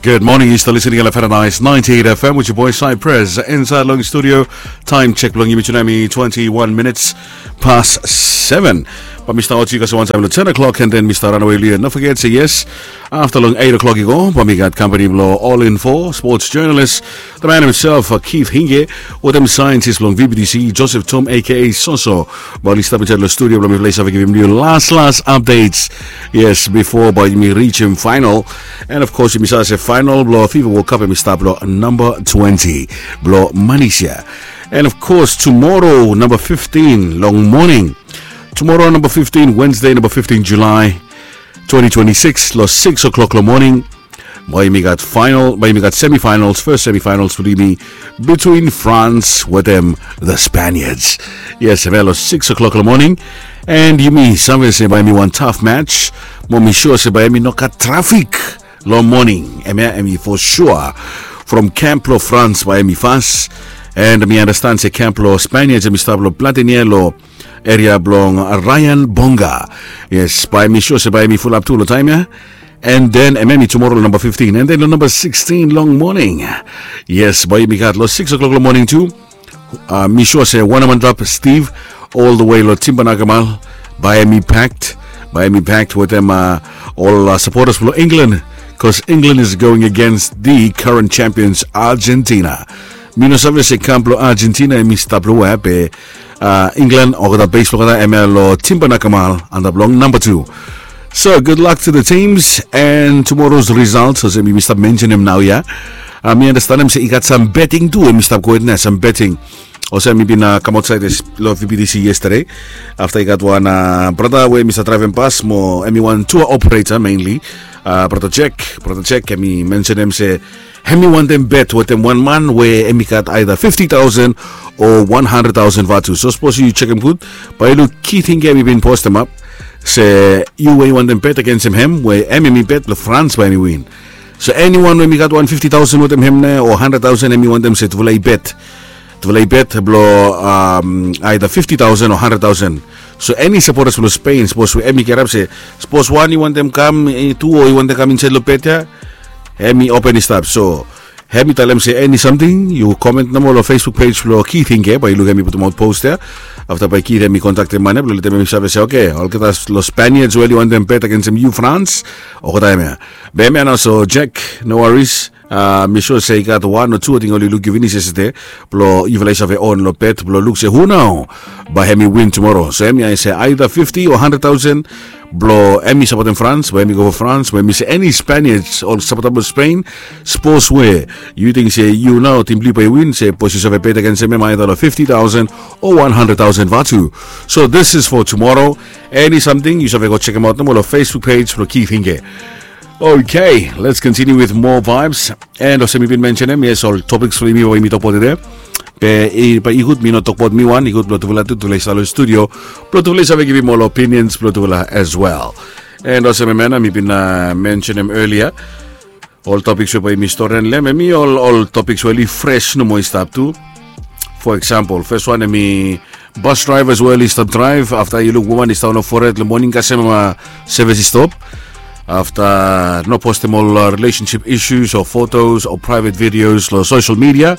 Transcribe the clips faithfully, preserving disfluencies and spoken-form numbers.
Good morning, yu stap listening long Paradise ninety-eight F M with your boy Cypress. Inside long studio, time check blong yumi tu nao hemi twenty-one minutes past seven. Bae mi stap ot yu kasem wan taem long ten o'clock, and then mi stap ranawe long yu. No foget se yes, afta long eight o'clock i go, bae mi gat kampani blong All Info sports journalist, the man himself, uh, Keith Hinge, wetem saentis blong V B T C, Joseph Tom, A K A Soso. Bae oli stap insaed long studio blong mifala i save givim yu laslas updates. Yes, bifo bae yumi rijim final. And of course, yumi save se final blong FIFA World Cup hemi stap long namba twenty blong Malaysia. And of course, tomorrow, namba fifteen long moning. Tomorrow, namba fifteen, Wednesday, namba fifteen July twenty twenty-six, long six o'clock long moning, bae yumi gat final, bae yumi gat semifinals, first semifinals blong yumi between France wetem the Spaniards. Yes, hemia long six o'clock long moning. And yumi save se bae hemi wan tough match. Mo mi sure se bae hemi no gat trafik long moning. Hemia hemi for sure from camp blong France bae hemi fas. And mi understand se camp blong Spaniards hemi stap long Platanear long eria blong Ryan Bonga. Yes, bae mi sure se bae hemi fulap tu long taem ia. And then hemia hemi tomorrow long namba fifteen, and then long namba sixteen long moning. Yes, bae yumi gat long six o'clock long moning tu. Uh, mi sure se wan man drop Steve all the way long Timber Nakamal. Bae hemi packed, bae hemi packed wetem, uh, ol, uh, supporters blong England, 'cause England is going against the current champions Argentina. Mi no save se camp blong Argentina hemi stap long wea, be, uh, England olgeta base blong olgeta hemia long Timber Nakamal antap long namba tu. So good luck to the teams, and tomorrow's results olsem mi stap mensenem naoia. Uh, mi andastanem se i gat sam betting tu, hemi stap gohed nao, sam betting. Olsem mi bin, uh, kam aotsaed long V B T C yesterday. Afta i gat wan, uh, brata we mi stap draevem pas mo hemi wan tour operator mainly. Uh, brata Jack, brata Jack hemi mensenem se hemi wantem bet wetem wan man we hemi gat either fifty thousand o one hundred thousand vatu. So sapos yu jekem gud, bae yu luk Keith Hinge hemi bin postemap se yu we yu wantem bet agensem hem, we hem hemi bet blong France bae hemi win. So eniwan we hemi gat wan fifty thousand wetem hem nao o hundred thousand, hemi wantem se tufala i bet. Tufala i bet blong, um, either fifty thousand o hundred thousand. So eni supporters blong Spain, sapos we hemi kirap se, sapos wan i wantem kam, eh, tu o i wantem kam insaed long bet ia, hemi open i stap. So hemi talem se eni samting, yu comment nomo long Facebook page blong Keith Hinge, bae yu luk hemi putumaot post ia. Afta bae Keith hemi kontaktem man ia blong letem hemi save se, okay, olgeta long Spaniards we oli wantem bet agensem yu France, olgeta hemia. Be hemia nao, so Jack, no worries. Uh, mi sure se i gat wan o tu ating oli luk yu finis yestade blong yufala i save on long bet blong luk se hu nao bae hemi win tomorrow. So hemia i se either fifty o hundred thousand blong hemi sapotem France, bae hemi go for France, bae hemi se eni Spaniards o sapotem Spain, sapos we yu ting se yu nao tim blong yu bae i win, sapos yu save bet agensem hem either long fifty thousand o one hundred thousand vatu. So this is for tomorrow. Eni samting yu save go jekemaot nomo long Facebook page blong Keith Hinge. Okay, let's continue with more vibes. And olsem mi bin mensenem, yes, ol topiks blong yumi we yumi tokbaot tede. Be i, bae i gud mi no tokbaot mi wan, i gud blong tufala tu, tufala i stap long studio blong tufala i save givim ol opinions blong tufala as well. And olsem hemia nao mi bin, uh, mensenem earlier, ol topiks we bae yumi storian long hem, hemi ol, ol topiks we oli fres nomo i stap tu. For example, fes wan hemi bus drivers we oli stap draev, afta yu luk woman i stap long fored long moning kasem, uh, sevis i stop. Afta no postem ol, uh, relationship issues o photos o private videos long social media.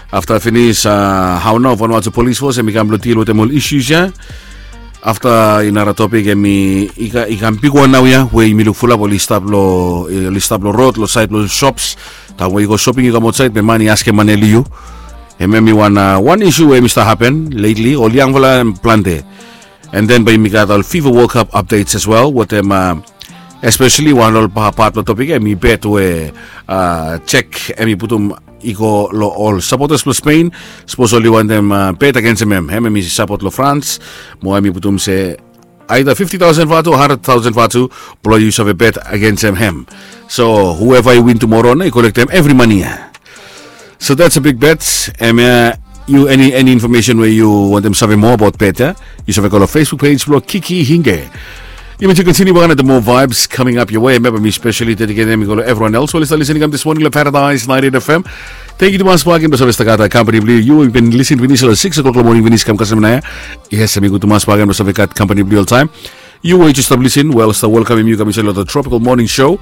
Afta finis, uh, hao nao Vanuatu Police Force hemi kam blong deal wetem ol issues ia. Afta i nara topik, hemi i ka-, i kam bigwan naoia we yumi luk fulap oli stap long, oli stap long rod, long saed blong shops. Taem we yu go shopping yu kam aotsaed be man i askem mane long yu. Hemia hemi wan, uh, wan issue we hemi stap hapen lately, ol yangfala hem plante. And then bae yumi gat ol FIFA World Cup updates as well wetem, uh, especially wan ol pa-, pat blong topik ia, hemi bet we, uh, Jack hemi putum i go long ol supporters blong Spain. Sapos oli wantem, uh, bet agensem hem, hem hemi sapot long France, mo hemi putum se either fifty thousand vatu o hundred thousand vatu blong yu save bet agensem hem. So whoever i win tomorrow nao i kolektem evri mane ia. So that's a big bet. Hemia, yu eni, eni information we yu wantem save moa abaot bet ia, yu save go long Facebook page blong Keith Hinge. Yumi tu kontiniu bak nao, the more vibes coming up your way. Memba mi specially dediketem i go long everyone else we oli stap listening kam this morning long Paradise ninety-eight F M. Tangkiu tumas bak, yumi save stap gat kampani blong yu. Yu bin lisin finis long six o'clock long moning finis kam kasem naoia. Yes, hemi gud tumas bak, yumi save gat kampani blong yu oltaem. Yu we yu stap lisin, wel, stap welkamem yu kam insaed long the Tropical Morning Show.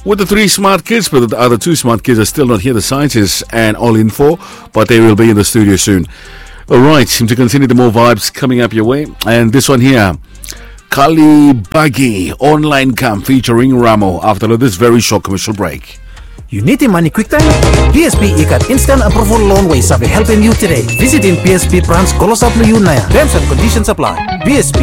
With the three smart kids, but the other two smart kids are still not here, the scientists and all info, but they will be in the studio soon. All right, to continue the more vibes coming up your way. And this one here, Kali Bagi, Online Camp featuring Ramo, after this very short commercial break. Yu nidim mane kwiktaem? B S B i gat instant approval loan we i save helpem yu tede. Visitim B S B brans klosap long yu naoia. Terms and conditions apply. B S B,